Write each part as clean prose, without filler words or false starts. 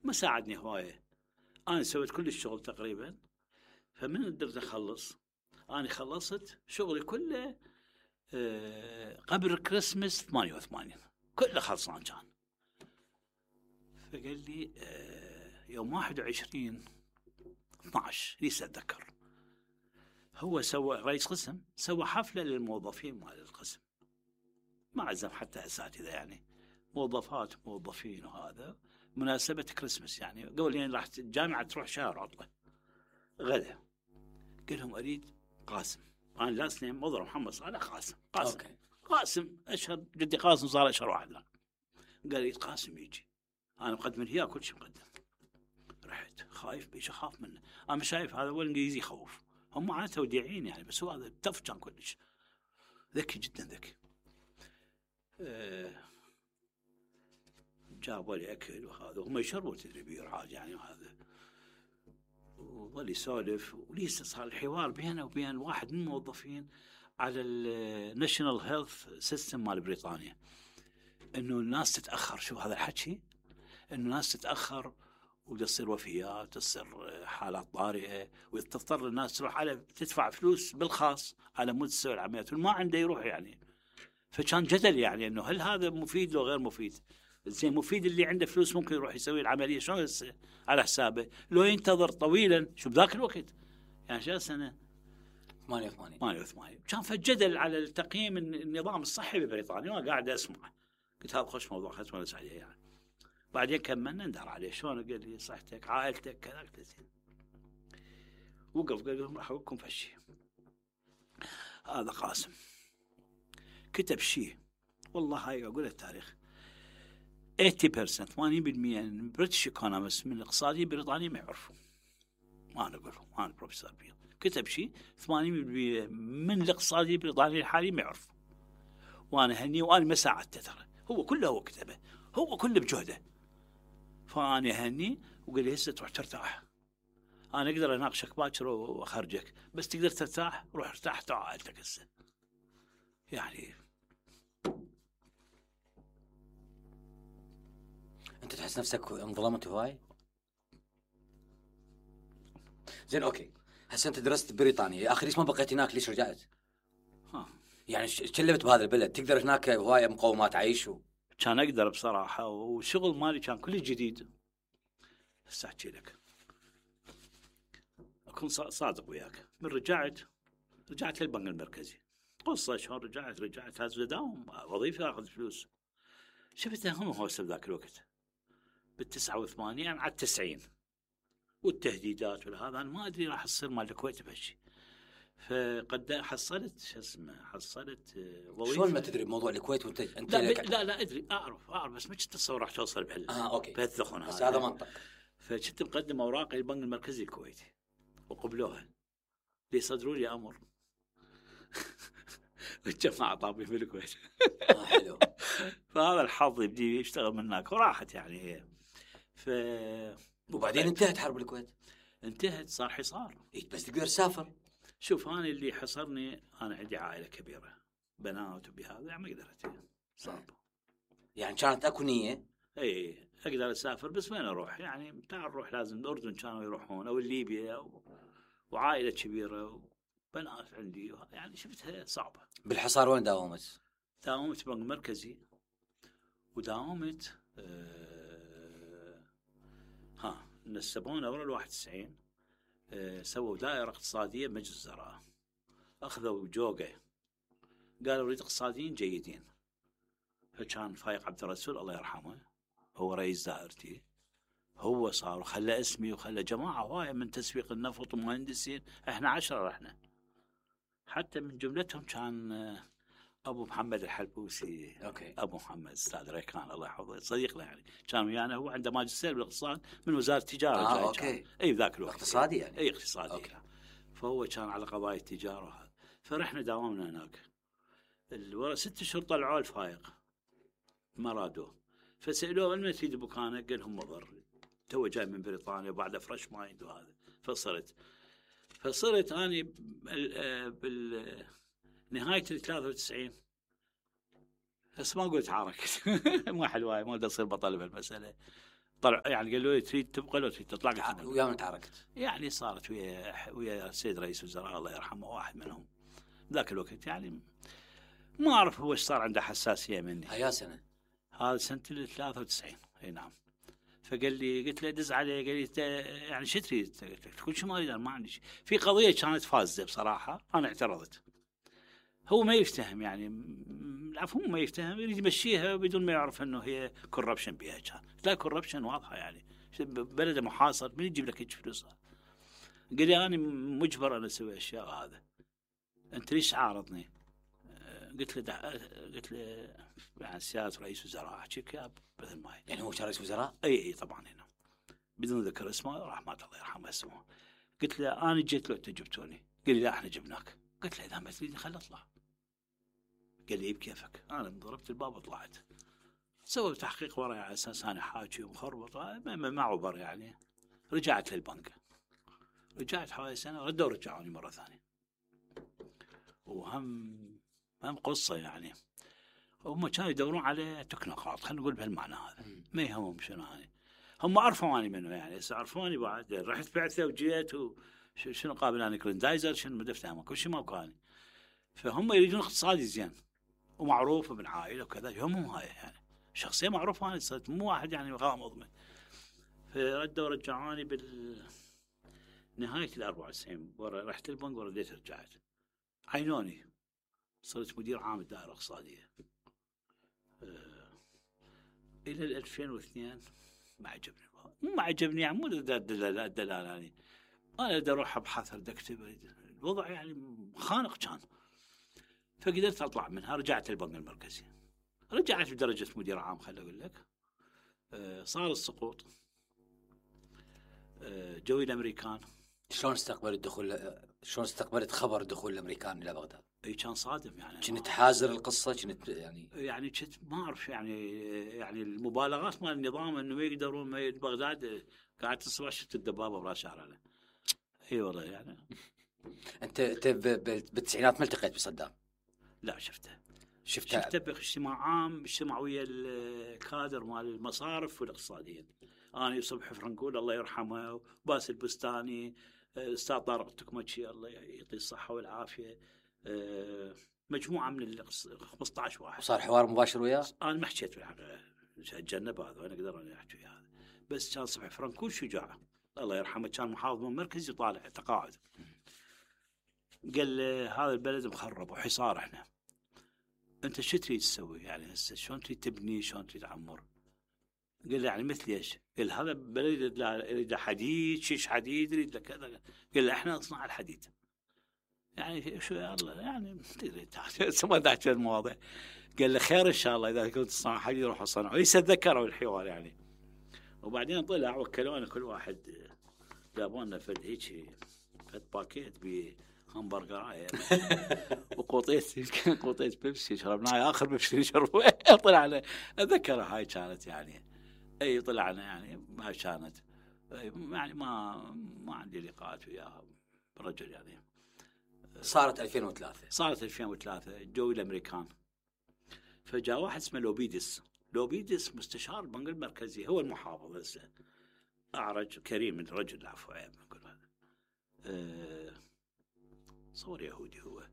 ما ساعدني هوايه. انا سويت كل الشغل تقريبا، فمن قدرت اخلص. انا خلصت شغلي كله قبل كريسمس 88 كله خلصان كان. فقال لي يوم 21/12 لسه اتذكر، هو سوى رئيس قسم، سوى حفله للموظفين مال القسم، ما عزم حتى اساتذه، يعني موظفين وهذا مناسبه كريسمس، يعني قبل يعني راح الجامعه تروح شهر عطله غدا. قال لهم اريد قاسم، انا لاست نيم مضر محمد صالح قاسم. أوكي. قاسم اشهر، جدي قاسم صار اشهر واحد له. قال لي قاسم يجي، انا مقدم لي كل شيء مقدم. رحت خايف بيش، اخاف منه، انا شايف هذا هو الانجليزي يخوف، هم معناته وديعين يعني، بس هو هذا تف كان كلش ذكي جدا ذكي. جابوا لي اكل وهذا، هم يشربوا تدري بير عادي يعني، وهذا وظل يسولف، وليس صار الحوار بينه وبين واحد من الموظفين على الناشونال هيلث سيستم مال بريطانيا، انه الناس تتاخر. شوف هذا الحكي، انه الناس تتاخر وتصير وفيات، تصير حالات طارئه، وتضطر الناس تروح على تدفع فلوس بالخاص على مود تسوي العمليات، وما عنده يروح يعني. فكان جدل يعني انه هل هذا مفيد لو غير مفيد؟ زين مفيد اللي عنده فلوس ممكن يروح يسوي العمليه شلون على حسابه، لو ينتظر طويلا. شو بذاك الوقت يعني شو سنه 88 كان فجدل على التقييم النظام الصحي ببريطانيا، وانا قاعد اسمع، قلت هذا خوش موضوع خلص ونس عليه يعني. بعدين كملنا ندار عليه شلون، قال لي صحتك عائلتك كذا، وقف قال لهم راح اقول فشي. هذا قاسم كتب شيء والله هاي اقول التاريخ 80% 80% من بريتش ايكونومست من الاقتصاديين البريطانيين ما يعرفوا، ما انا اقول انا بروفيسور بيه كتب شيء 80% من الاقتصاديين البريطانيين الحاليين ما يعرفوا، وانا هني وانا ما ساعدته ترى، هو كله هو كتبه، هو كله بجهده. فانا هني وقال لي هسه تروح ترتاح، انا اقدر اناقشك باكر واخرجك، بس تقدر ترتاح، روح ارتاح تعال عائلتك هسه يعني. انت تحس نفسك انظلمت هواي؟ زين اوكي، هسه انت درست بريطانيا، اخر ليش ما بقيت هناك؟ ليش رجعت؟ يعني شلبت بهذا البلد، تقدر هناك هوايه مقومات عيش كان اقدر بصراحه، والشغل مالي كان كله جديد. هسه احكي لك، اكون صادق وياك، من رجعت للبنك المركزي، قصه شلون رجعت هذا داوم وظيفه اخذ فلوس. شفت هم هوسه بذاك الوقت بال89 على 90 والتهديدات وهذا، انا ما ادري راح تصير مال الكويت بهالشيء. فقد حصلت شو اسمه، حصلت وظيفه. شلون ما تدري بموضوع الكويت وانت لا ادري، اعرف بس ما كنت اتصور راح توصل اوكي بهالثخن بس هذا منطق. فكنت مقدم اوراقي للبنك المركزي الكويتي وقبلوها، ليصدروا لي امر الجماعه طابين في الكويت. حلو. فهذا الحظ يبدي يشتغل من هناك وراحت يعني هي. وبعدين انتهت حرب الكويت، انتهت، صار حصار. بس تقدر تسافر. شوف انا اللي حصرني، انا عندي عائله كبيره بنات وبهذا يعني ما قدرت، صعب يعني. كانت اكو نيه اي اقدر اسافر، بس وين اروح يعني؟ تعال نروح لازم الاردن كانوا يروحون او ليبيا وعائله كبيره وبنات عندي يعني، شفتها صعبه. بالحصار وين داومت بنك مركزي، وداومت نسبونا ورا 91 سووا دائره اقتصاديه بمجلس الوزراء، اخذوا جوقه قالوا نريد اقتصاديين جيدين. فكان فايق عبد الرسول الله يرحمه هو رئيس دائرتي، هو صار وخلى اسمي وخلى جماعه هوايه من تسويق النفط ومهندسين، احنا 10 رحنا، حتى من جملتهم كان ابو محمد الحلبوسي. اوكي. ابو محمد استاذ ريكان الله يحفظه، صديقنا يعني، كان ويانا، هو عنده ماجستير بالاقتصاد من وزاره التجاره. اوكي. اي ذاك الوقت اقتصادي يعني. اي اقتصادي. أوكي. فهو كان على قضايا التجاره، فرحنا داومنا هناك. 6 اشهر طلعوا الفايق ما رادوه، فسالوه من تفيد بكانه؟ قال لهم مضر، تو جاي من بريطانيا وبعد فريش مايند وهذا. فصرت اني بالنهايه 93 بس ما قلت حركت ما حلوه، ما بدي اصير بطل بهالمساله. طلع يعني قالوا لي تريد تبقى لو تريد تطلع. قلت ويا من تعاركت؟ يعني صارت ويا السيد رئيس وزراء الله يرحمه واحد منهم ذاك الوقت، يعني ما اعرف هو ايش صار عنده حساسيه مني. هيا سنه؟ هذا سنه 93. اي نعم. فقال لي، قلت له دز عليه، قال لي يعني شو تريد؟ كل شيء ما اريد، ما عندي شيء. في قضيه كانت فازه بصراحه، انا اعترضت. هو ما يفتهم، يعني العفو ما يفتهم، يريد يمشيها بدون ما يعرف انه هي كوربشن بها. كان لا كوربشن واضحه، يعني بلد محاصر من يجيب لك هيك فلوس؟ قال لي انا مجبر انا اسوي اشياء هذا، انت ليش عارضني؟ قلت له يعني سيادة رئيس وزراء احكيك مثل ما هي. يعني هو كان رئيس وزراء؟ اي طبعا هنا بدون ذكر اسمه، رحمه الله يرحمه اسمه. قلت له انا جيت لو انت جبتوني. قال لي لا احنا جبناك. قلت له اذا ما تريد خل اطلع. قال لي بكيفك. انا ضربت الباب وطلعت. سووا تحقيق وراي على اساس انا حاكي ومخربط، ما عبر يعني. رجعت للبنك، رجعت حوالي سنه، ردوا رجعوني مره ثانيه. وهم قصه يعني. هم كانوا يدورون على تكنوقراط، خلينا نقول بهالمعنى هذا. ما يهمهم شنو هاي. هم عرفوا اني منه، يعني هسه عرفوني بعد. رحت بعثه وجيت شنو قابل انا كلندايزر شنو ما دفته كل شيء ما كان. فهم يريدون اقتصادي زين ومعروف ابن عائله وكذا. يهمهم هاي يعني شخصيه معروفه. انا صرت مو واحد يعني غامض منه. فردوا رجعوني نهاية 94. رحت البنك ورديت رجعت. عينوني صرت مدير عام الدائرة الاقتصادية. إلى 2002 ما عجبني. ما عجبني يعني مو الدلال يعني. أنا بدي أروح أبحث، بدي أكتب، الوضع يعني خانق كان. فقدرت أطلع منها. رجعت البنك المركزي، رجعت بدرجة مدير عام. خلي أقول لك صار السقوط. جوي الأمريكان. شلون استقبلت خبر دخول الامريكان الى بغداد؟ اي كان صادم يعني. كنت حازر القصه؟ كنت يعني كنت ما اعرف يعني المبالغات مال النظام انه ما يقدرون بغداد. قاعد الصبح شفت الدبابه براس شعرنا. اي والله يعني. انت بالتسعينات ما التقيت بصدام؟ لا شفته باجتماع عام، اجتماع ويا الكادر مال المصارف والاقتصاديين. انا صبحي فرنقول الله يرحمه، وباس البستاني، استاذ طارق التكمتشي الله يعطيه الصحه والعافيه، مجموعه من 15 واحد. صار حوار مباشر وياه؟ انا ما حكيت بالحقيقه، اتجنب هذا وانا اقدر اني احكي هذا. بس كان صبحي فرنقول شجاع الله يرحمه، كان محافظ من المركز يطالع تقاعد. قال هذا البلد مخرب وحصار، احنا انت شو تريد تسوي يعني هسه؟ شلون تريد تبني؟ شلون تريد تعمر؟ قال له يعني مثل ايش؟ قال هذا بلد يريد حديد، شيش حديد، يريد كذا. قال له احنا نصنع الحديد. يعني شو يا الله يعني ما تحكي المواضيع. قال له خير ان شاء الله اذا كنت تصنع حديد روح اصنعه. يتذكروا الحوار يعني. وبعدين طلع وكلونا كل واحد جابوا لنا فد هيك فد باكيت بهمبرجر وقوطيت بيبسي شربناها. اخر بيبسي شربوه طلعنا. اتذكرها هاي كانت يعني. اي طلعنا يعني ما كانت يعني ما عندي لقاءات وياها رجل يعني. صارت 2003 جوي الامريكان. فجاء واحد اسمه لوبيدس مستشار البنك المركزي، هو المحافظ هسه، اعرج كريم من رجل عفو يعني نقول هذا. صور يهودي هو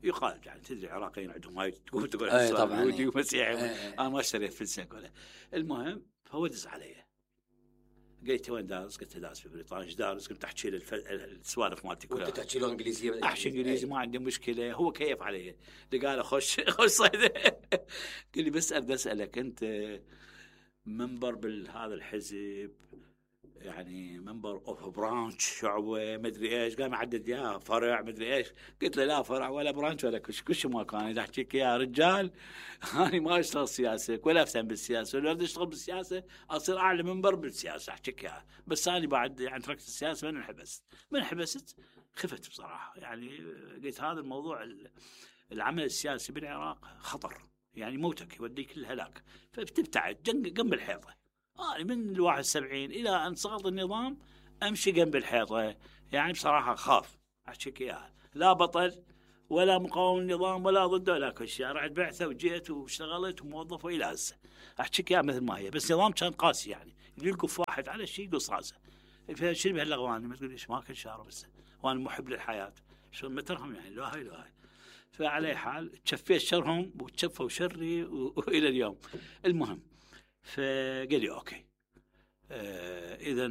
يقال يعني. تدري العراقيين عندهم هاي تقول طبعا يهودي ومسيحي. انا ما اشتريت فلسه ولا. المهم فهو دز علي قلت وين دارس؟ قلت دارس في بريطانيا. ايش دارس؟ قلت احكي له السوالف مالتي كلها. وانت تحكي له انجليزيه؟ احكي انجليزي ما عندي مشكله. هو كيف علي قال خش صيده. قال لي بس اريد اسالك انت منبر بهذا الحزب يعني منبر اوف برانش شعبه مدري ايش. قام يعدد يا فرع مدري ايش. قلت له لا فرع ولا برانش ولا كل شيء ما كان. اذا احكيك يا رجال انا ما اشتغل سياسه ولا افتهم بالسياسه، ولا اريد اشتغل بالسياسه اصير اعلى منبر بالسياسه احكيك يا. بس انا بعد يعني تركت السياسه من حبست خفت بصراحه يعني. قلت هذا الموضوع العمل السياسي بالعراق خطر يعني موتك يوديك للهلاك. فبتبتعد جنب الحيطه. من 71 إلى أن سقط النظام أمشي جنب الحيطة يعني. بصراحة خاف أحكيك إياها. لا بطل ولا مقاوم النظام ولا ضده ولا كل شيء. رحت بعثة وجيت واشتغلت وموظف وإلى هسه أحكيك إياها مثل ما هي. بس النظام كان قاسي يعني يلقف واحد على شيء يقص راسه. شنو بهاللغواني؟ ما تقول ليش ما كل شهر بس وانا محب للحياه، شلون ما ترهم يعني لا هاي لا هاي. فعلى حال تشفيت شرهم وتشفوا شري والى اليوم. المهم فقال لي اوكي اذا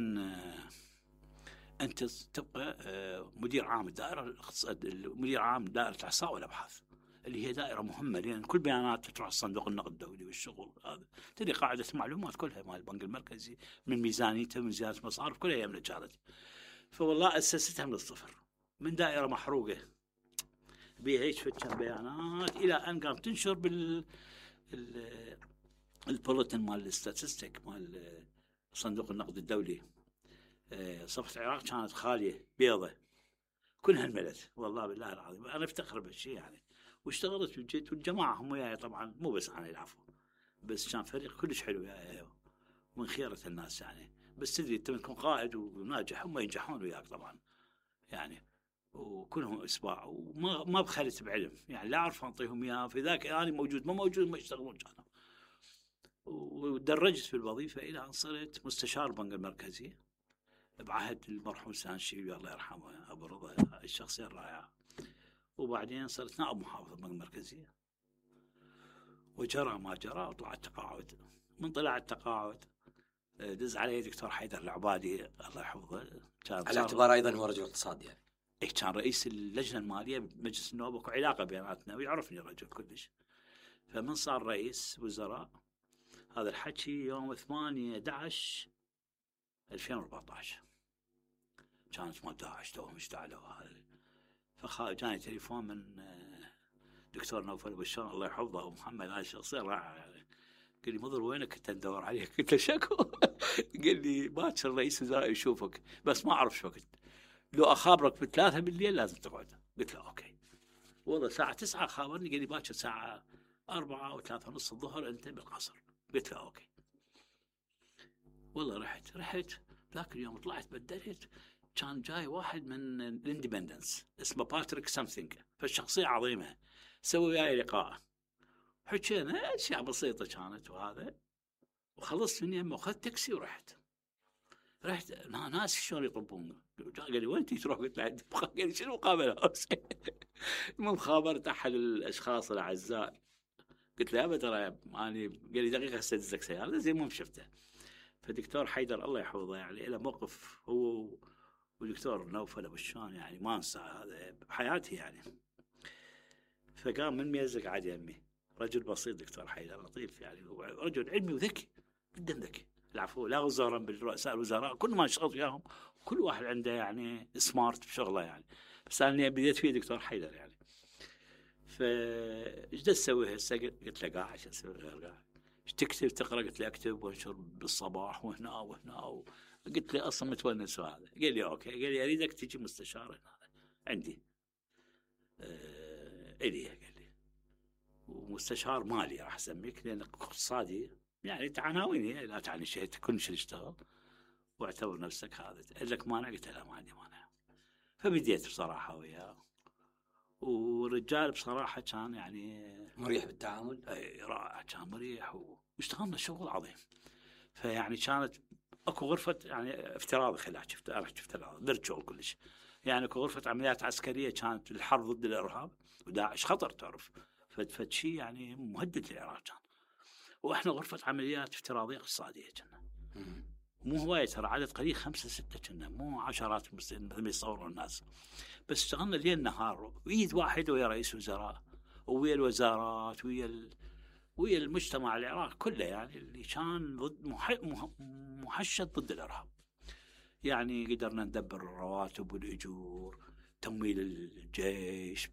انت تبقى مدير عام الدائره مدير عام دائره الاحصاء والابحاث، اللي هي دائره مهمه لان كل بيانات تروح صندوق النقد الدولي والشغل هذا، تدري قاعده معلومات كلها مال البنك المركزي من ميزانيته من زياده مصارف كلها هي من الجارتي. فوالله اسستها من الصفر، من دائره محروقه بيها هيك كم بيانات الى ان قام تنشر البوليتن مال الستاتستيك مال صندوق النقد الدولي. صفحه العراق كانت خاليه بيضة كلها انملت، والله بالله العظيم انا افتخر بهالشيء يعني. واشتغلت بجد والجماعه هم وياي طبعا، مو بس انا العفو، بس كان فريق كلش حلو وياي ومن خيره الناس يعني. بس تدري انت تكون قائد وناجح هم ينجحون وياك طبعا يعني، وكلهم اسباع وما بخلت بعلم يعني، لا اعرف انطيهم اياه في ذاك انا موجود ما موجود ما يشتغلون كانوا. ودرجت في الوظيفه الى ان صرت مستشار البنك المركزي بعهد المرحوم سانشيبي الله يرحمه ابو رضا، الشخصيه الرائعه. وبعدين صرت نائب محافظ البنك المركزي، وجرى ما جرى وطلعت تقاعد. من طلع التقاعد دز علي دكتور حيدر العبادي الله يحفظه، كان على اعتبار ايضا هو رجل اقتصاد يعني. كان رئيس اللجنه الماليه بمجلس النواب وكو علاقه بيناتنا ويعرفني الرجل كلش. فمن صار رئيس وزراء هذا الحكي يوم 8/11/2014 كانت مال داعش توهم اشتعلوا هذا. جاني تليفون من دكتور نوفل بشار الله يحفظه ومحمد، هاي الشخصيه رائعه يعني. قال لي مضر وينك كنت ندور عليك؟ قلت له شكو؟ قال لي باكر رئيس وزراء يشوفك بس ما اعرف شو وقت، لو اخابرك ب3 بالليل لازم تقعد. قلت له اوكي. والله الساعه 9 خابرني قال لي باكر الساعه 4 و3 ونص الظهر انت بالقصر. قلت له اوكي. والله رحت ذاك اليوم طلعت بدلت، كان جاي واحد من الاندبندنس اسمه باتريك سامثينج، فالشخصيه عظيمه، سوي وياي لقاء حكينا اشياء بسيطه كانت وهذا، وخلصت من يمه واخذت تاكسي ورحت ناس شلون يطبون. قال لي وين تروح؟ قلت له قال لي شنو مقابله؟ المهم خابرت احد الاشخاص الاعزاء قلت له ابد ترى اني، قال لي دقيقه استدزك سياره زي ما شفته. فدكتور حيدر الله يحفظه يعني له موقف هو ودكتور نوفل ابو الشان يعني ما انسى هذا بحياتي يعني. فقام من ميزك قعد يمي، رجل بسيط دكتور حيدر لطيف يعني، رجل علمي وذكي جدا ذكي العفو، لا غزارا بالرؤساء الوزراء كل ما اشتغلت وياهم كل واحد عنده يعني سمارت بشغله يعني، بس انا بديت فيه دكتور حيدر يعني. فايش تسوي هسه؟ قلت له قاعد ايش اسوي غير قاعد؟ ايش تكتب تقرا؟ قلت له اكتب وانشر بالصباح وهنا قلت له اصلا متونس وهذا. قال لي اوكي، قال لي اريدك تجي مستشار هنا عندي الي، قال لي ومستشار مالي راح اسميك لانك اقتصادي يعني عناويني لا تعني شيء كل شيء تشتغل واعتبر نفسك هذا. قال لك مانع؟ قلت له لا ما عندي مانع. فبديت بصراحه وياه، ورجال بصراحه كان يعني مريح بالتعامل، رائع، كان مريح واشتغلنا شغل عظيم. فيعني كانت اكو غرفه يعني افتراضي خلال شفت درج شغل كلش يعني، اكو غرفه عمليات عسكريه كانت للحرب ضد الارهاب وداعش خطر تعرف، فد شيء يعني مهدد للعراق كان. واحنا غرفه عمليات افتراضيه اقتصاديه كنا، مو هوايه ترى، عدد قليل 5 6 كنا، مو عشرات مثل ما يصورون الناس. بس اشتغلنا ليل نهار ويد واحد ويا رئيس وزراء ويا الوزارات ويا المجتمع العراقي كله يعني، اللي كان ضد محشد ضد الارهاب يعني. قدرنا ندبر الرواتب والاجور، تمويل الجيش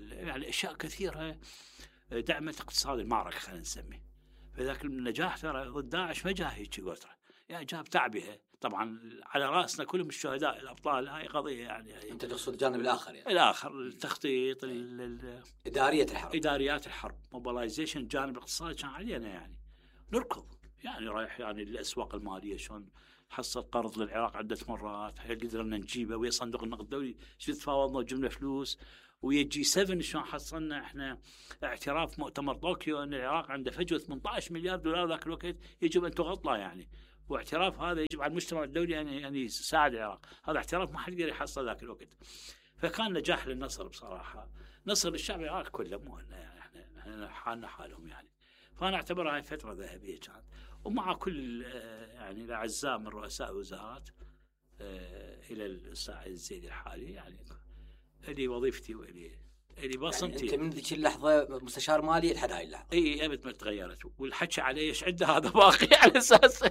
يعني، اشياء كثيره دعمت اقتصاد المعركه خلينا نسميه. فذاك النجاح ترى ضد داعش ما جاء هيك قطره يعني، جاب تعبئه طبعا على راسنا كلهم الشهداء الابطال. هاي قضيه يعني انت تقصد الجانب الاخر يعني، الاخر التخطيط اداريات الحرب موبلايزيشن. الجانب الاقتصادي كان علينا يعني نركض يعني، رايح يعني الاسواق الماليه شلون حصل قرض للعراق عده مرات قدرنا نجيبه ويا صندوق النقد الدولي، شو تفاوضنا وجبنا فلوس ويا G7 شلون حصلنا احنا اعتراف مؤتمر طوكيو ان العراق عنده فجوه $18 مليار ذاك الوقت يجب ان تغطى يعني، واعتراف هذا يجب على المجتمع الدولي ان يساعد العراق. هذا اعتراف ما حد يقدر يحصل ذاك الوقت. فكان نجاح للنصر بصراحه، نصر للشعب العراقي كله، مو يعني احنا حالنا حالهم يعني. فانا اعتبرها هاي فتره ذهبيه كانت. ومع كل يعني الاعزاء من رؤساء الوزارات الى الساعه الزيد الحالي، يعني لي وظيفتي والي بصمتي. يعني انت من ذيك اللحظه مستشار مالي لحد هاي اللحظه؟ اي ابد ما تغيرت. والحكي علي ايش عنده هذا باقي على اساس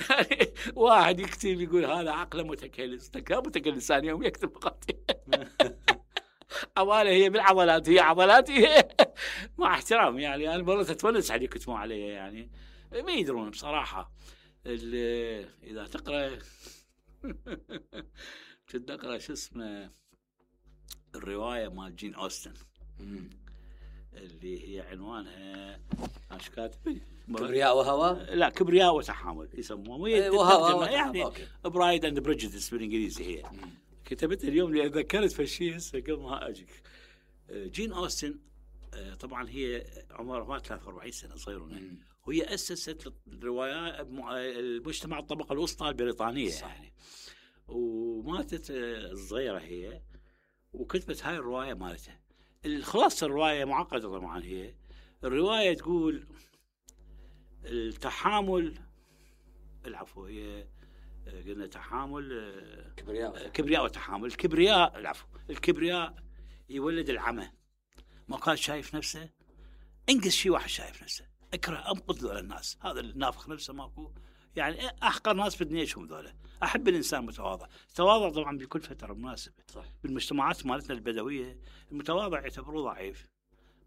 يعني واحد يكتب يقول هذا عقله متكلس، متكلس ثاني يوم يكتب فقط عواله هي بالعضلات، هي عضلاتي مع احترام يعني. انا والله تتونس علي يكتبون علي يعني ما يدرون بصراحه. اذا تقرا كنت اقرا شو اسمه الروايه مال جين أوستن اللي هي عنوانها ايش كاتب؟ كبرياء وهوى؟ لا، كبرياء وتحامل يسموها يعني. برايد اند بريجيديس بالانجليزي هي. كتبتها اليوم لأن ذكرت في الشيء هسه قبل ما اجيك. جين أوستن طبعا هي عمرها 43 سنه صغيرونه، وهي اسست الروايات المجتمع الطبقه الوسطى البريطانيه يعني. وماتت الصغيره هي وكتبت هاي الروايه مالتها. الخلاصه الروايه معقده طبعا. هي الروايه تقول التحامل، العفو هي قلنا تحامل كبرياء وتحامل. الكبرياء يولد العمى. ما كان شايف نفسه، انقص شيء واحد شايف نفسه، اكره انقذ ذول الناس. هذا النافخ نفسه ماكو يعني. احقر ناس في الدنيا شوف ذولا. احب الانسان متواضع. التواضع طبعا بكل فتره مناسبه. صح. بالمجتمعات مالتنا البدويه المتواضع يعتبروه ضعيف،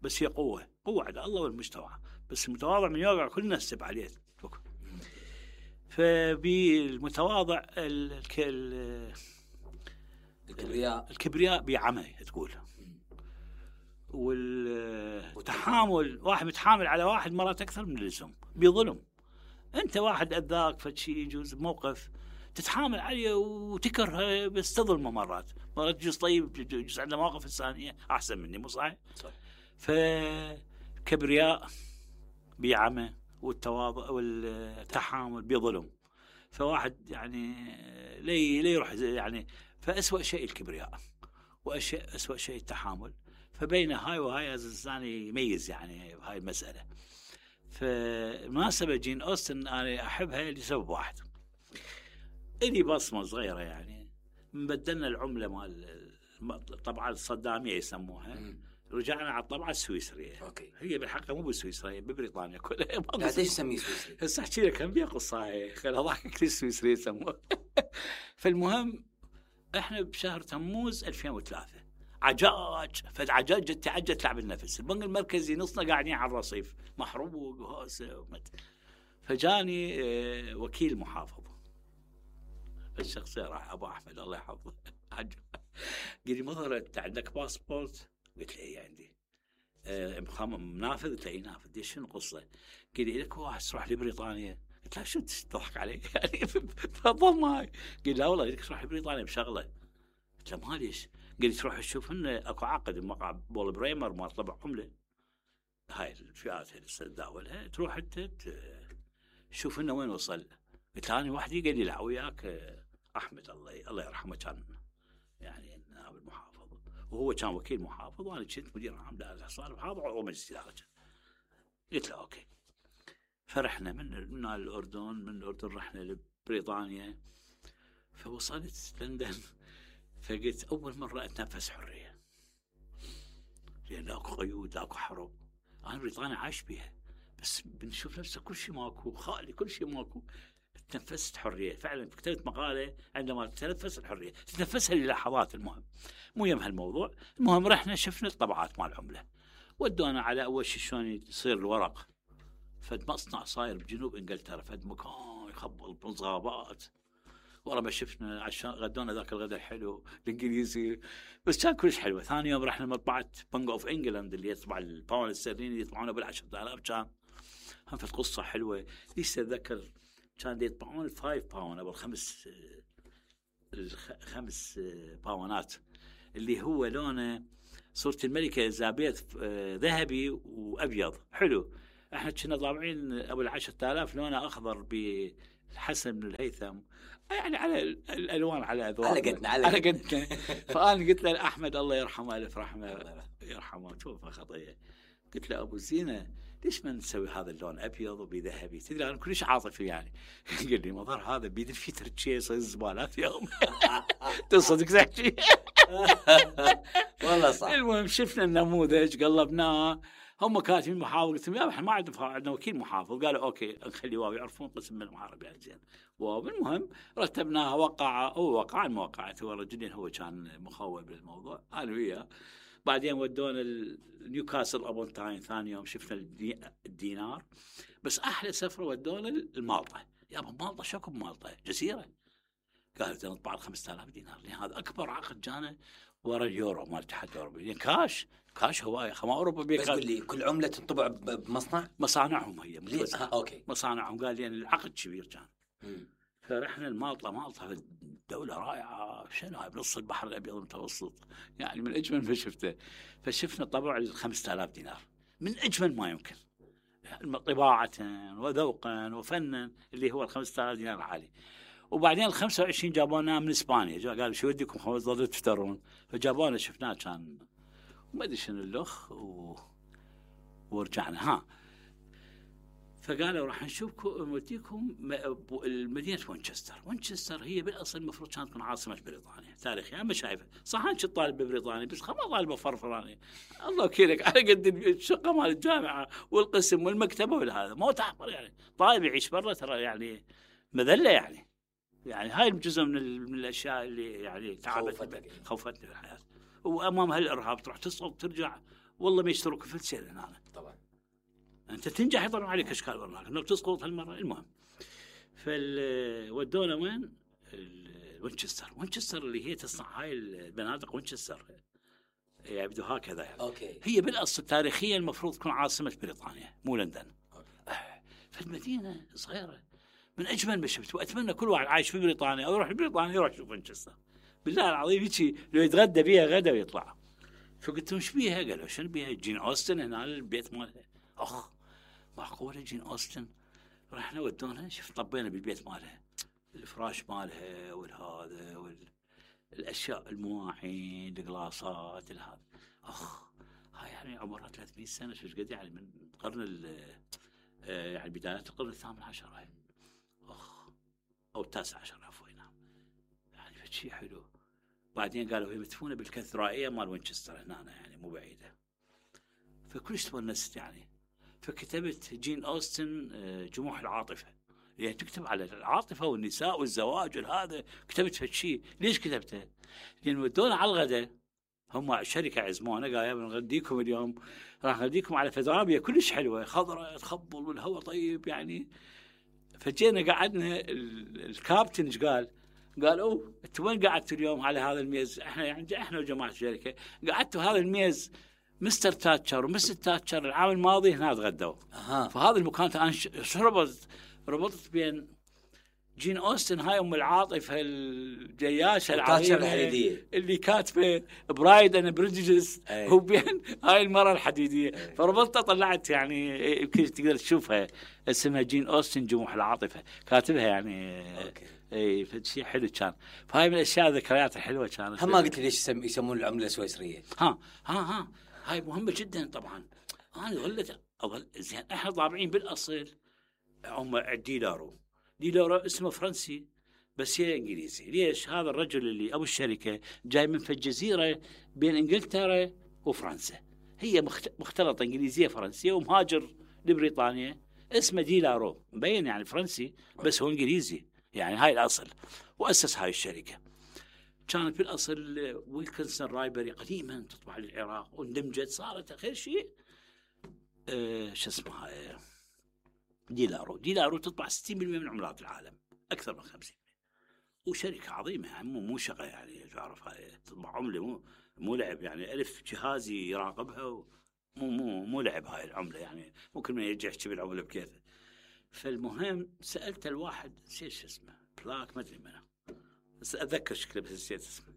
بس هي قوه على الله والمجتمع. بس المتواضع من يوقع كل الناس تسب عليه. فبالمتواضع الكبرياء بعمى تقول. والتحامل واحد متحامل على واحد مرات اكثر من اللزوم بظلم. انت واحد اذاك فشي يجوز بموقف تتحامل عليه وتكره بس تظلمه مرات يجوز طيب، يجوز عنده مواقف انسانيه احسن مني، مو صحيح؟ صح. فكبرياء بعمى والتواضع والتحامل بظلم. فواحد يعني ليه يروح يعني. فأسوأ شيء الكبرياء وأسوأ شيء التحامل. فبين هاي وهاي الإنسان يميز يعني هاي المسألة. فمناسبة جين أوستن أنا أحبها لسبب واحد. إلي بصمة صغيرة يعني. بدلنا العملة مال الطبعة الصدامية يسموها. رجعنا على الطبعة السويسرية. أوكي. هي بالحقيقة مو بالسويسرية، ببريطانيا كلها. ليش تسميه سويسري؟ هسه أحكي لك كم بيها قصة هاي خلها ضحكك السويسرية يسموها. فالمهم إحنا بشهر تموز 2003 عجاج تعجج تعب النفس. البنك المركزي نصنا قاعدين على الرصيف محروق وهوسه. فجاني وكيل محافظ الشخصية راح أبو أحمد الله يحفظه. قال لي مظهرت عندك باسبورت؟ قلت له إيه عندي. منافذ؟ قلت له إيه نافذ. دي شنو قصة؟ قال لي لك واحد تروح لبريطانيا. قلت له شو تضحك علي يعني تفضل معي. قال لا والله لك تروح لبريطانيا بشغلة. قلت له ما ليش؟ قال لي تروح تشوف إنه أكو عقد مقع بول بريمر ما طبع عملة هاي الفئات اللي تداولها، تروح أنت شوف إنه وين وصل. قلت له أنا وحدي. قال لي لا وياك أحمد الله يرحمه كان يعني نائب المحافظ وهو كان وكيل محافظ وأنا كنت مدير عام دائرة الحصار محافظ ومجلس إدارة. قلت له أوكي. فرحنا من الأردن، من الأردن رحنا لبريطانيا. فوصلت لندن فقلت أول مرة أتنفس حرية، لأن اكو قيود اكو حرب. أنا بريطانيا عايش بيها بس بنشوف نفسه كل شيء ماكو، خالي كل شيء ماكو. تنفست حرية فعلا. كتبت مقالة عندما تتنفس الحرية تتنفسها للحظات. المهم مو يم هالموضوع. المهم رحنا شفنا الطبعات مال العملة، ودونا على أول شيء شلون يصير الورق. فد مصنع صاير بجنوب إنجلترا، فد مكان يخبل بالغابات. ورا ما شفنا عشان غدونا ذاك الغداء الحلو الإنجليزي، بس كان كلش حلوة. ثاني يوم رحنا مطبعة بنك أوف إنجلاند اللي يطبع الباوند الاسترليني يطبعونه بال10,000 كان. هم في قصة حلوة ليش أتذكر. كان يطبعون 5 باوند أو الخمس باونات اللي هو لونه صورة الملكة إليزابيث ذهبي وأبيض حلو. احنا كنا طابعين ابو 10,000 لونه اخضر بالحسن بن الهيثم، يعني على الالوان على اذواق على قدنا. فانا قلت له احمد الله يرحمه الف رحمه يرحمه توفى خطيه، قلت له ابو زينه ليش ما نسوي هذا اللون ابيض وبذهبي؟ تدري انا كلش عاطفي يعني. قال لي مظهر هذا بيد الفيتر شيء يصير زبالات يوم. تصدق تحكي؟ والله صح. المهم شفنا النموذج قلبناه، هم كاتبين محافظ، قلت لهم احنا ما عندنا وكيل محافظ، قالوا اوكي نخلي واو يعرفون قسم من المحاربه يعني زين واو. المهم رتبناها، وقع الموقعة، هو رجلين هو كان مخول بالموضوع انا وياه. بعدين ودونا نيوكاسل ابون تاين، ثاني يوم شفنا الدينار. بس احلى سفره ودونا المالطه. يابا مالطه شكو بمالطه جزيره، قالوا نطبع 5000 دينار لان هذا اكبر عقد جانا ورا اليورو مال الاتحاد الاوروبي، يعني كاش هوايه خما اوروبا بس قول لي كل عمله تنطبع بمصنع؟ مصانعهم هي اوكي مصانعهم، قال يعني العقد كبير كان. فرحنا مالطه دولة رائعة، شنو هاي بنص البحر الأبيض المتوسط، يعني من أجمل ما شفته. فشفنا طبع 5000 دينار من أجمل ما يمكن، طباعة وذوقا وفنا، اللي هو 5000 دينار العالي. وبعدين 25 جابونا من إسبانيا، قالوا شو وديكم خلاص ظلوا تفترون، فجابونا شفناه كان ما أدري شنو الأخ ورجعنا. فقالوا راح نوديكم مدينة وينشستر هي بالأصل المفروض كانت تكون عاصمة بريطانيا تاريخيا. أما شايفة صح أنت طالب ببريطانيا بس ما طالب فرفراني، الله وكيلك على قد الشقة مال الجامعة والقسم والمكتبة والهذا، ما تحضر يعني طالب يعيش برا ترى يعني مذلة يعني هاي جزء من الأشياء اللي يعني خوفتني في الحياة. وأمام هالإرهاب تروح تصل ترجع والله ما يشتروك في السير هنا طبعا. أنت تنجح يطلعون عليك أشكال برنامج إنك تسقط هالمرة. المهم ودونا وين؟ وينشستر اللي هي تصنع هاي البنادق وينشستر، يبدو هكذا يعني. أوكي. هي بالأصل تاريخيا المفروض تكون عاصمة بريطانيا مو لندن. فالمدينة صغيرة من أجمل ما شفت، وأتمنى كل واحد عايش في بريطانيا أو يروح بريطانيا يروح يشوف وينشستر بالله العظيم. يجي لو يتغدى بيها غدا ويطلع. فقلت لهم ايش بيها؟ قالوا شنو بيها؟ جين أوستن هنا البيت مالها. معقولة جين أوستن؟ رحنا ودونا شفت طبينا بالبيت مالها، الفراش مالها والهذا والأشياء المواعين القلاصات الهذا. هاي يعني عمرها 300 سنة، شو قد يعني من القرن يعني بداية القرن الثامن عشر هاي أو التاسع عشر عفوا. نعم يعني شيء حلو. بعدين قالوا هي مدفونة بالكاتدرائية مال وينشستر هنا يعني مو بعيدة. فكلش تونست يعني. فكتبت جين أوستن جموح العاطفة، يعني تكتب على العاطفة والنساء والزواج والهذا. كتبت هالشيء ليش كتبته؟ لأن ودونا على الغداء، هم شركة عزمونا قال يا بنغديكم اليوم، راح نغديكم على فدرابية كلش حلوة خضراء تخبل والهواء طيب يعني. فجينا قعدنا، الكابتن ايش قال انت وين قعدتوا اليوم على هذا الميز؟ احنا وجماعة الشركة قعدتوا هذا الميز مستر تاتشر ومستر تاتشر العام الماضي هنا تغدوا. فهذا المكان أنا ربطت بين جين أوستن هاي أم العاطفة الجياشة العظيمة اللي كاتبة برايد أند بريجيديس وبين هاي المرة الحديدية. فربطتها طلعت يعني يمكن تقدر تشوفها اسمها جين أوستن جموح العاطفة، كاتبها يعني. اي فشي حلو كان. فهاي من الاشياء الذكريات الحلوه كانت. هم ما قلت لي ليش يسمون العمله السويسريه؟ هاي مهمه جدا طبعا. انا اظل زين احنا طابعين بالاصل هم ديلارو اسمه فرنسي بس هي انجليزي. ليش؟ هذا الرجل اللي ابو الشركه جاي من في الجزيره بين انجلترا وفرنسا، هي مختلطه انجليزيه فرنسيه، ومهاجر لبريطانيا. اسمه ديلارو مبين يعني فرنسي بس هو انجليزي يعني. هاي الأصل. وأسس هاي الشركة. كانت بالأصل ويلكنسون رايبري قديما تطبع للعراق واندمجت صارت آخر شيء شو اسمها ديلارو تطبع 60% من عملات العالم، أكثر من 50%. وشركة عظيمة يعني مو شغلة يعني تعرف هاي تطبع عملة مو لعب يعني. ألف جهازي يراقبها مو لعب هاي العملة يعني. ممكن ما يرجع يحكي بالعملة بكيفه. فالمهم سألت الواحد نسيت شو اسمه بلاك ما أدري منه بس أتذكر شكله بس نسيت اسمه.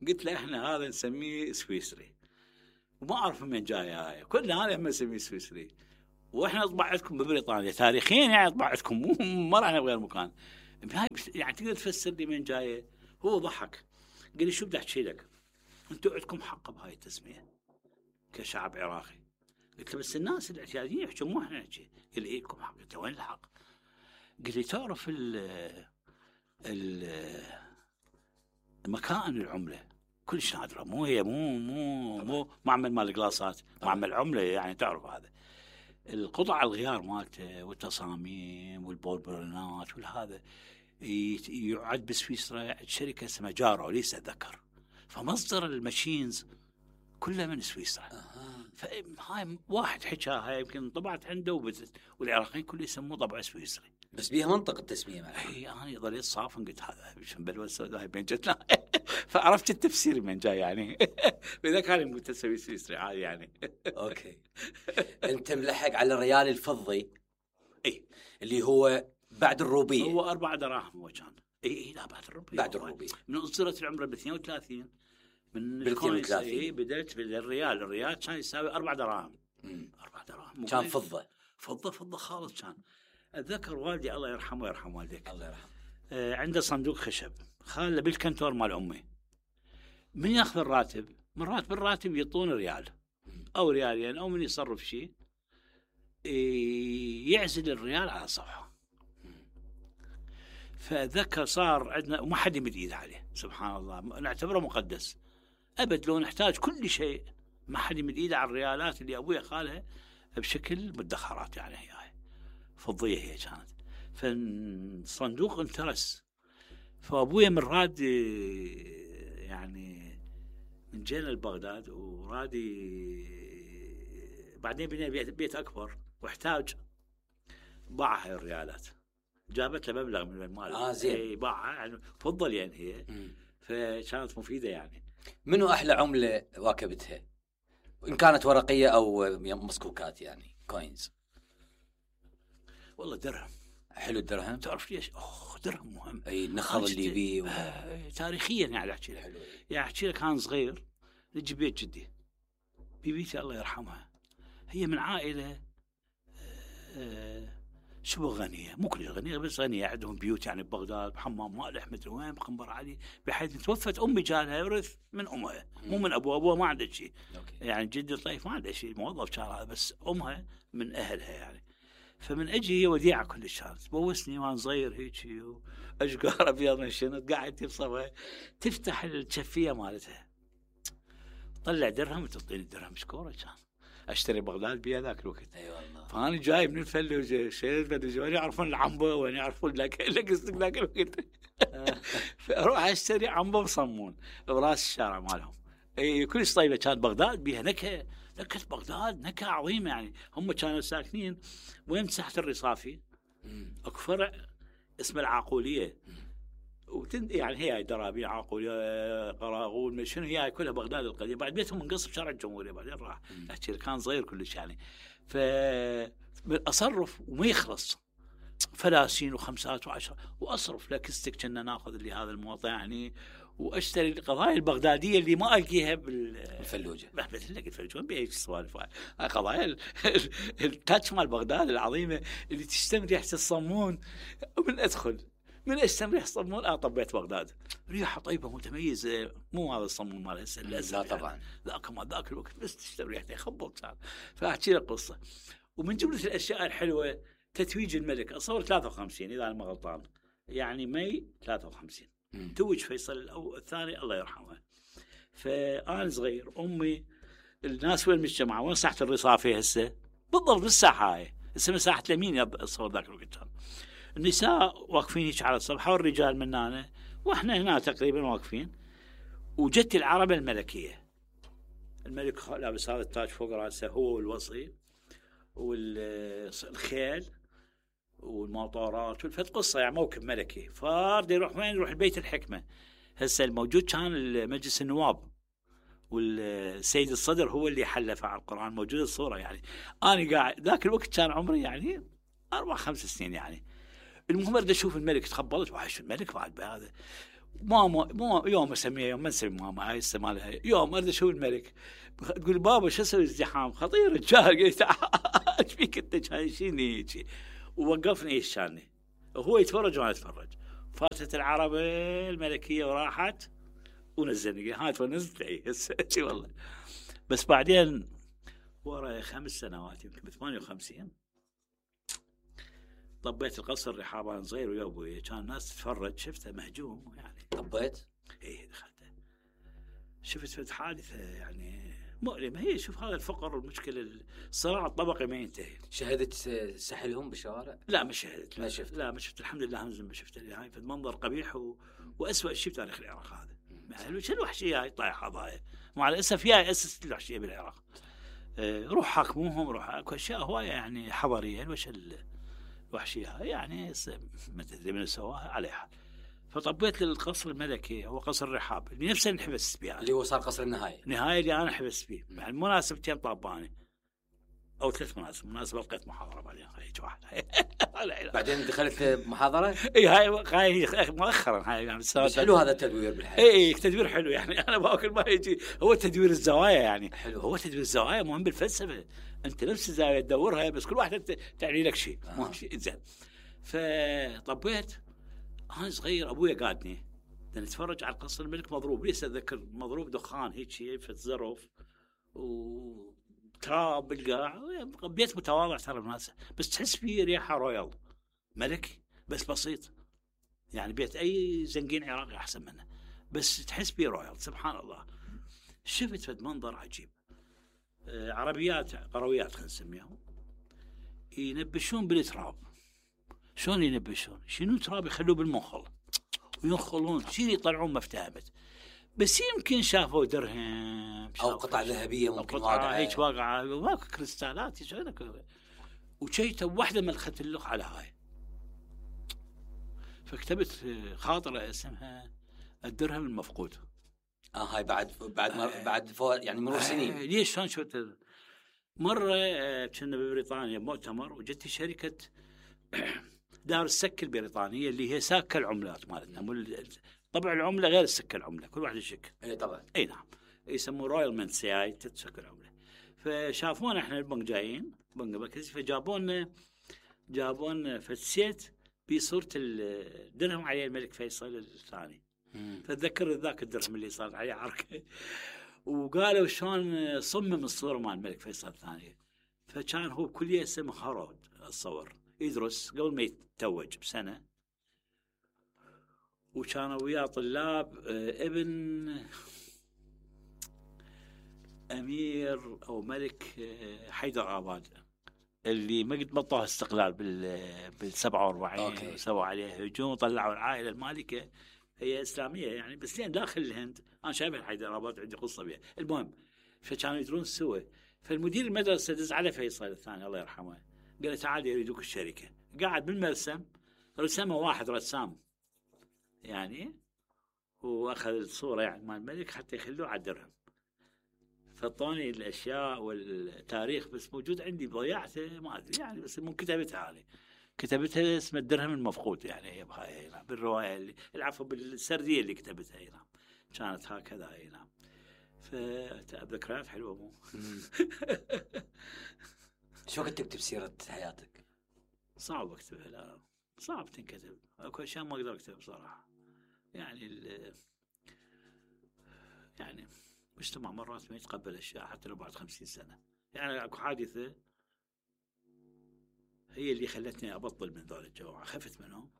قلت له إحنا هذا نسميه سويسري وما أعرف من جاي هاي، كلنا أنا ما نسميه سويسري. واحنا اطبع عندكم ببريطانيا تاريخيا، يعني اطبع عندكم ما راح بغير مكان. يعني تقدر تفسر لي من جايه؟ هو ضحك قال لي شو بدي احكي لك، انتم عندكم حق بهاي التسميه كشعب عراقي. قلت له بس الناس الاعتياديين يحكوا مو احنا نحكي. قال لي إيه لكم حق. قلت له وين الحق؟ قال لي تعرف مكان العمله كلش نادره، مو هي مو معمل مال القلاصات، معمل عمله يعني تعرف هذا. القطع الغيار مالته والتصاميم والبولبرونات والهذا يعد بسويسرا شركه اسمها جارو ليس اتذكر، فمصدر الماشينز كلها من سويسرا. فهاي واحد حكاها يمكن طبعت عنده والعراقيين كله يسموه طبع سويسري، بس بيها منطق التسميه معها. اي انا ظليت صافن قلت هذا بلوى السوداء بين جتنا فعرفت التفسير من جاي يعني اذا كان متسوي سويسري عادي يعني. اوكي. انت ملحق على الريال الفضي اي اللي هو بعد الروبيه، هو 4 دراهم هو كان. اي لا بعد الروبيه، بعد الروبيه من اصدرت العمره ب 32 من بال 32. اي بدأت بالريال، الريال كان يساوي 4 دراهم. 4 دراهم كان فضه خالص كان. اتذكر والدي الله يرحمه ويرحم والديك الله يرحمه عنده صندوق خشب خاله بالكنتور مال امي. من ياخذ الراتب من راتب الراتب يعطون ريال او ريالين او من يصرف شيء يعزل الريال على صفحه. فذكر صار عندنا وما حد يمد ايده عليه، سبحان الله نعتبره مقدس ابد. لو نحتاج كل شيء ما حد يمد ايده على الريالات اللي ابويا خالها بشكل مدخرات، يعني هي فضيه هي كانت. فالصندوق انترس. فابويا من راد يعني من جينا لبغداد ورادي بعدين بنينا بيت اكبر واحتاج باع هاي الريالات، جابت له مبلغ من المال. زين. باعها يعني فضل يعني هي فكانت مفيده يعني. منو احلى عمله واكبتها ان كانت ورقيه او مسكوكات يعني كوينز؟ والله درهم. حلو الدرهم. تعرف ليش؟ درهم مهم. اي النخل الليبي تاريخيا يعني احكي لك حلو. يعني احكي لك كان صغير نجي بيت جدي بيبيتي الله يرحمها، هي من عائله شبه غنيه، مو كلها غنيه بس غنيه، عندهم بيوت يعني ببغداد بحمام مالح مدري وين بخنبر علي، بحيث توفت امي جالها يورث من امها مو من ابوها ما عنده شيء. يعني جدي الطيف ما عنده شيء، موظف كان هذا، بس امها من اهلها يعني. فمن اجي هي وديعه كلش كانت تبوسني وانا صغير هيك واشقار ابيض من شنط قاعد تبصبها تفتح الشفيه مالتها طلع درهم وتعطيني الدرهم مشكوره. كان اشتري بغداد بيها ذاك الوقت. اي والله. فانا جاي من الفل شيء وين يعرفون العنبه وين يعرفون لك ذاك الوقت فاروح اشتري عنبه وصمون براس الشارع مالهم. اي كلش طيبه كانت بغداد بيها نكهه بغداد نكهه عظيمه يعني. هم كانوا ساكنين وين مساحه الرصافي اكو فرع اسمه العاقوليه يعني هي درابي عاقوليه قراغون شنو هي كلها بغداد القديمه. بعد بيتهم منقص بشارع الجمهوريه بعدين راح احكي كان صغير كلش يعني. فاصرف وما يخلص فلاسين وخمسات وعشرة واصرف لكستك كنا ناخذ اللي هذا الموضع يعني، واشتري القضايا البغداديه اللي ما القيها بالفلوجه. بتلاقي الفلوجه وين بيجي السوالف هاي قضايا التاتش مال بغداد العظيمه اللي تشتم ريحه الصمون. ومن ادخل من اشتم ريحه الصمون طبيت بغداد ريحه طيبه متميزه، مو هذا الصمون مال هسه لا طبعا لا كمان ذاك الوقت بس تشتم ريحته يخبط صار. فاحكي لك قصه. ومن جمله الاشياء الحلوه تتويج الملك اصور 53 اذا انا ما غلطان يعني ماي 53 توج فيصل الثاني الله يرحمه. فأنا صغير أمي الناس وين مجتمعة وين ساحة الرصافي هسه بالضبط بالساحة هاي هسه مساحة اليمين الصور ذاك الوقت. النساء واقفين هيك على الصفحة والرجال من هنا واحنا هنا تقريبا واقفين. وجت العربة الملكية الملك لابس هذا التاج فوق راسه هو والوصي والخيل والمطارات والفت قصة يعني موكب ملكي. فارد يروح وين؟ يروح البيت الحكمة. هسه الموجود كان مجلس النواب والسيد الصدر هو اللي حلف على القرآن، موجود الصورة يعني. أنا قاعد ذاك الوقت كان عمري يعني 4-5 سنين يعني. المهم أريد أشوف الملك، تخبلت وحش الملك بعد بهذا ماما مو يوم اسميها يوم ما نسمي ماما هاي السنه مالها يوم اريد اشوف الملك. تقول بابا شو اسوي ازدحام خطير الرجال. قلت ايش فيك انت شايشيني هيك. ووقفني يشاني وهو يتفرج وانا اتفرج. فاتت العربه الملكيه وراحت ونزلني هاي ونزلت اي والله. بس بعدين ورا 5 سنوات يمكن ب 58 طبيت القصر الرحاب انا صغير ويا ابوي. كان الناس تتفرج شفته مهجوم يعني. طبيت؟ اي دخلته شفت حادثه يعني مؤلمه. هي شوف هذا الفقر والمشكله الصراع الطبقي ما ينتهي. شهدت سحلهم بالشوارع؟ لا ما شهدت. ما شفت؟ لا ما شفت الحمد لله. همزم ما شفت. هاي في المنظر قبيح واسوأ شيء في تاريخ العراق هذا. يعني شو الوحشيه هاي طايحه ضايع. مع الاسف هي اسست الوحشيه بالعراق. روح حاكموهم روح اكو اشياء هوايه يعني حضاريه. وش الوحشيه هاي يعني ما تدري من سواها عليها. فطبيت للقصر الملكي هو قصر الرحاب اللي نفسه نحبس به اللي هو صار قصر النهايه. النهايه اللي انا حبس فيه. يعني مناسبتين طاباني او 3 مناسب. مناسبه لقيت محاضره بعدين هيك واحد. بعدين دخلت محاضره. اي هاي مؤخرا هاي يعني. بس حلو هذا التدوير بالحياه. اي تدوير حلو يعني. انا باكل ما يجي هو تدوير الزوايا يعني. حلو. هو تدوير الزوايا مهم بالفلسفه. انت نفس الزاويه تدورها بس كل واحده تعني لك شيء. مو شيء زين. فطبيت انا صغير ابويا قادني نتفرج على قصر الملك مضروب. ليش اتذكر مضروب دخان هيك شيء في الزرف وتراب بالقاع. بيت متواضع ترى الناس بس تحس فيه ريحه رويال ملكي بس بسيط. يعني بيت اي زنقين عراقي احسن منه بس تحس فيه رويال. سبحان الله. شفت فد منظر عجيب. عربيات قرويات خلينا نسميهم ينبشون بالتراب. شلون ينبشون؟ شنو تراب يخلوه بالمنخل وينخلون شيء يطلعون ما افتهمت. بس يمكن شافوا درهم او قطع ذهبيه ممكن واقعه هيك واقعه ماكو كريستالات وشيته واحده ملخت اللخ على هاي. فكتبت خاطره اسمها الدرهم المفقود. هاي بعد يعني مرور سنين. ليش شلون شفت مره كنا ببريطانيا مؤتمر وجت شركه دار السكه البريطانيه اللي هي ساكه العملات مالتنا. طبع العمله غير السكه العمله كل واحد يشك. اي طبعا. اي نعم يسموه رويال منت هاي تتسكر العمله. فشافونا احنا البنك جايين بنك مركزي فجابون فسيت بصوره الدرهم عليه الملك فيصل الثاني. فتذكر ذاك الدرهم اللي صار عليه عركه وقالوا شلون صمم الصوره مال الملك فيصل الثاني. فكان هو بكليه اسمه هارود اتصور يدرس قبل ما يتوج بسنه. وكانوا وياه طلاب ابن امير او ملك حيدر اباد اللي ما قد بطوا استقلال بال 47 وسووا عليه هجوم وطلعوا العائله المالكه. هي اسلاميه يعني بس لين داخل الهند. انا شايف حيدر اباد عندي قصه بها. المهم فكانوا يدرون سوا. فالمدير المدرسه دز على فيصل الثاني الله يرحمه قال له تعال يريدوك الشركه. قاعد بالمرسم رسمه واحد رسام يعني واخذ الصوره يعني مال الملك حتى يخلوه على الدرهم. فطوني الاشياء والتاريخ بس موجود عندي ضيعته ما ادري يعني. بس مو كتبتها هذه كتبتها اسم الدرهم المفقود يعني. هي بهاي بالروايه اللي العفو بالسرديه اللي كتبتها هي نعم كانت هكذا هي نعم. فذكريات حلوه مو. شو كنت تكتب سيره حياتك؟ صعب اكتبها. لا صعب تنكتب. اكو اشياء ما اقدر اكتبها بصراحه يعني. يعني مجتمع مرات ما يتقبل اشياء حتى لو بعد 50 سنه. يعني اكو حادثه هي اللي خلتني ابطل من ذول الجماعه. خفت منهم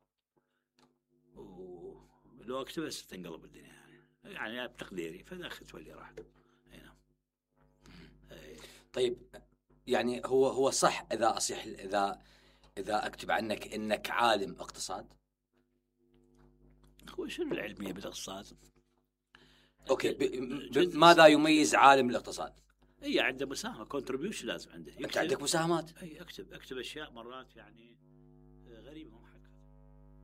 ولو اكتبها ستنقلب الدنيا يعني بتقديري. فدخلت واللي راح. نعم. طيب يعني هو صح اذا اصيح اذا اكتب عنك انك عالم اقتصاد؟ هو شنو العلميه بالاقتصاد؟ اوكي ماذا يميز عالم الاقتصاد؟ اي عنده مساهمه كونتريبيوشن لازم عنده. انت عندك مساهمات؟ اي اكتب اشياء مرات يعني غريبه.